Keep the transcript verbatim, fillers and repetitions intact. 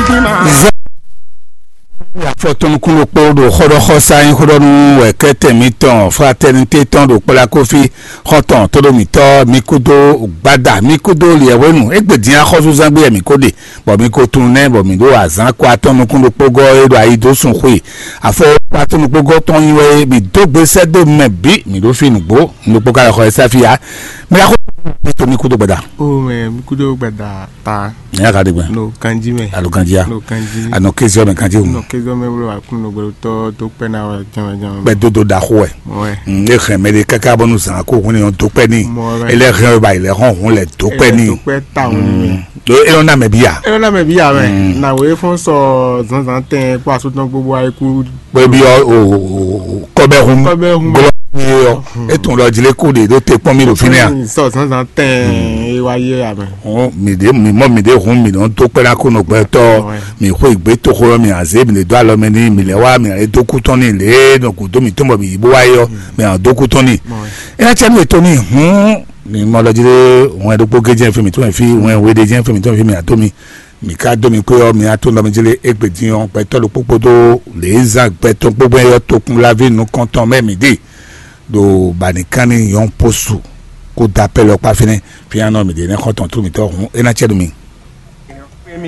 Zan afɔtɔnukúnɖokpó ɖo xɔɖɔxɔsá nyí xɔɖɔnu wɛkɛtɛ mitɔn fraternité tɔn ɖo kplá kofi xɔtɔn tóɖó mitɔ mi kúdó gbada mi kúdó liɛwénu égbé dín axɔ́súzán gbé mi kó ɖe bɔ mi ko tunú nɛ bɔ mi ɖo azán kó atɔn nukúnɖokpó gɔ́ é ɖo ayi dó sun xwe afɔ kó atɔn nukpó gɔ́ tɔn nyi wɛ mi dó gbe sɛ́ dó mɛ bǐ mi ɖo fi nǔgbó nukpó ka lɛ xɔ ɛ sáfi ya mi axɔ tó mi kúdó gbada. O mɛ mi kúdó gbada ta. Ní a ka ɖe gbɛ. No kanji mɛ. Alo kanji ya. No kanji. Anɔ kéziɔ mɛ kanji o. No kéziɔ mɛ wolo akun no gbɛdɔ tɔ tó pɛ na wɛ jɔn jɔn. Bɛ dodo da xo wɛ. Wɛ. Ne hɛn mɛ de kaka bɔ nu zan ko hun ne yɔn tó pɛ ni. Mɔ wɛ. Ele hɛn ba ilẹ̀ hɔn hun lɛ tó pɛ ni. Tó pɛ ta hun ni. Do elɔn na mɛ bi ya. Elɔn na mɛ bi ya mɛ. Na wo efɔn sɔ zanzan tɛ kó asotɔn gbogbo ayi kú. Pé bí ɔ o o o kɔbɛ hun. Kɔbɛ hun. Gɔlɔ ye ɔ. Etun lɔ jlé kó de ɖó te kpɔn mi ɖo fínɛ a. Sɔ zanzan tɛ e wa ye a mɛ. Hɔn mi ɖe mi mɔ mi ɖe hun mi nɔ dó kpɛɖa kó nɔ gbɛtɔ mi xɔ ìgbé toxo lɔ mi azé mi lè dó alɔ mɛ ní mi lè wá mi lè dó kú tɔn ní lè nɔ kú dó mi tó mɔ mi yìí bó wá yɔ mi hàn dó kú tɔn ní. Ena cɛ mi ètò ní hun mi mɔ lɔ jí lé hun ɛ ɖokpó gé jẹ́ fi mi tó mɛ fi hun ɛ wé ɖé jẹ́ fi mi tó mɛ fi mi àtó mi. Mi ka dó mi kpé ɔ́, mi atún nɔ mi jlé égbé din ɔ́, gbɛtɔ́ ɖokpó kpódó lě e zán gbɛtɔ́ kpógbɛ́ ɔ́ tokun láví nukɔntɔn mɛ mi ɖe ɖo banikanni yɔn posu kó da pɛ́ lɔ kpá fínɛ́ fínyanɔ mi ɖe nɛ́ xɔ́ntɔn trú mitɔ́ hǔn é ná cɛ nú mi.